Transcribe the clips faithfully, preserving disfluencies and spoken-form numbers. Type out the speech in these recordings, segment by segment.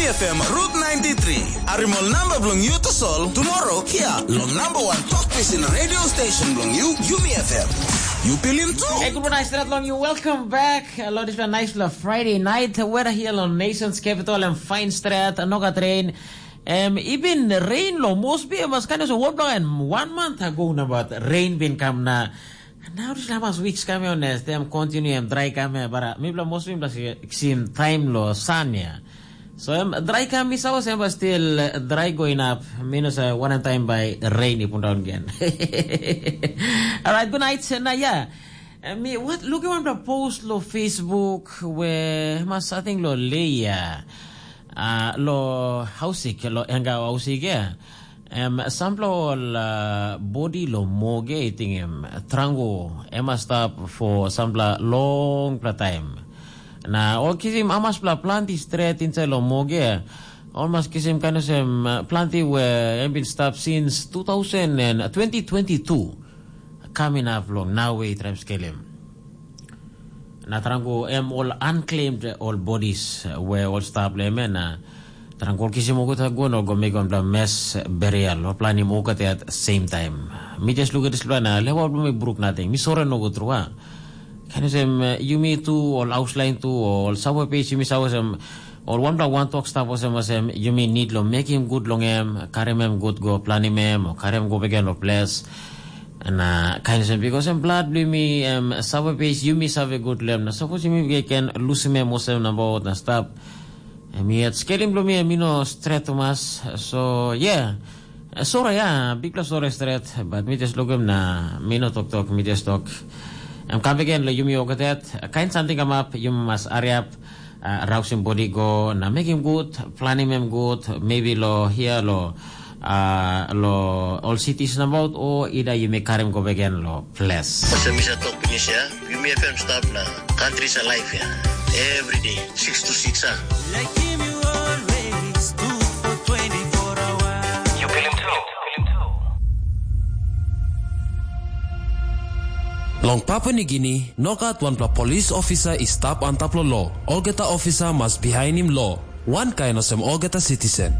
F M Route ninety-three. Arimol namba bilong yu tasol tomorrow hia long number one talk pisin radio station bilong yu, Yumi F M. Yu pilim tu? Hey, good morning, Strat long you. Welcome back. Hello, this is a nice little Friday night. Weather here on Nation's Capital and fine strat, no got rain. Um, even rain lo must be mas kind of one and one month ago na, but rain bin come na. Nau dispela mas weeks kam ya nes, tem continue em dry kam ya, bara mipela mostly mipela si sim time lo sun ya. So em dry kam mi sawa sem still eh, dry going up, minus uh, one time by rain i pun down again. Alright, good night. Na ya, eh, mi what looking on the post lo Facebook where mas I think lo Leia uh, lo hausik lo enga hausik ya. Em, sampela ol uh, bodi lo moge i tingim trango em a stap for sampela longpela taim. Na ol kisim amaspela planti stret inside lo moge, ol mas kisim kain olsem uh, planti we em bin stap since two thousand and twenty twenty-two. Kam inap long nawe i traim skelim. Na trangu em ol unclaimed ol bodies we ol stap long em na trangu ol kisim olgeta go na go mekim wanpela mes burial ol planim olgeta at same time. Mi just lukim dispela na lewa bilong mi bruk nating. Mi sore nogut tru a. Kan olsem yumi tu ol auslain tu ol sawa pes yumi sawa olsem ol wanpela wantok stap olsem olsem yumi nid long mekim gut long em, karim em gut go planim em o karim em go beken long ples. Na kain olsem, bikos em blat bilong mi em save pes yumi save gut long em, na sapos yumi ken lusim em olsem nabaut na stap, em yet skelim bilong mi em i no stret tumas. So yeah, sore ya, bikpela sore stret, bat mi jes lukim na mi no toktok, mi jes tok. Em kam beken long yumi olgeta, kain samting kamap, yumi mas hariap, uh, rausim bodi go na mekim gut, planim em gut, maybe lo hia lo uh, lo ol cities nabaut o ida yumi karim go beken lo ples. Olsem mi sa tok pinis ya, yumi F M stap na country sa life ya. Every day, six to six ah. Like him you always do for twenty-four hours. You feel him too. Long Papua Nigini, nogat wanpela polis ofisa i stap antap long lo. Olgeta ofisa mas bihainim lo. Wankain olsem olgeta sitisen.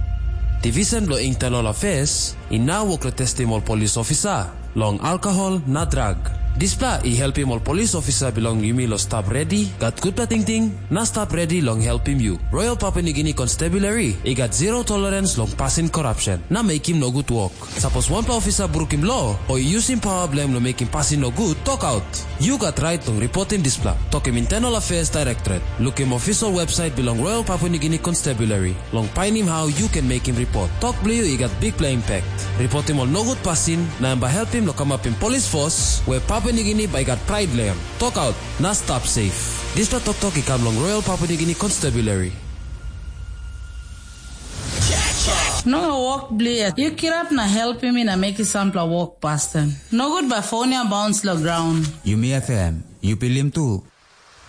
Divisen bilong Internal Affairs i nau wok long testim ol polis ofisa long alkohol na drag. Dispela i helpim ol polis ofisa bilong yumi long stap redi, gat gutpela tingting, na stap redi long helpim yu. Royal Papua Nigini Constabulary i gat zero tolerance long pasin korapsen na mekim nogut wok. Sapos wanpela ofisa brukim lo o i yusim pawa bilong em long mekim pasin nogut, tokaut. Yu gat rait long ripotim dispela. Tokim Internal Affairs Directorate. Lukim official website bilong Royal Papua Nigini Constabulary. Long painim hau yu ken mekim ripot. Tok bilong yu i gat bikpela impact. Ripotim ol nogut pasin, na em bai helpim long kamapim polis fos, we Papua Nigini bai gat prait long em. Tokaut, na stap safe. Dispela toktok i kam long Royal Papua Nigini Constabulary. No wok blia. Yu kirap na helpim mi na mekim sampela wok pasten. Nogut bai fon ya bauns long graun. Yumi F M, yu pilim tu.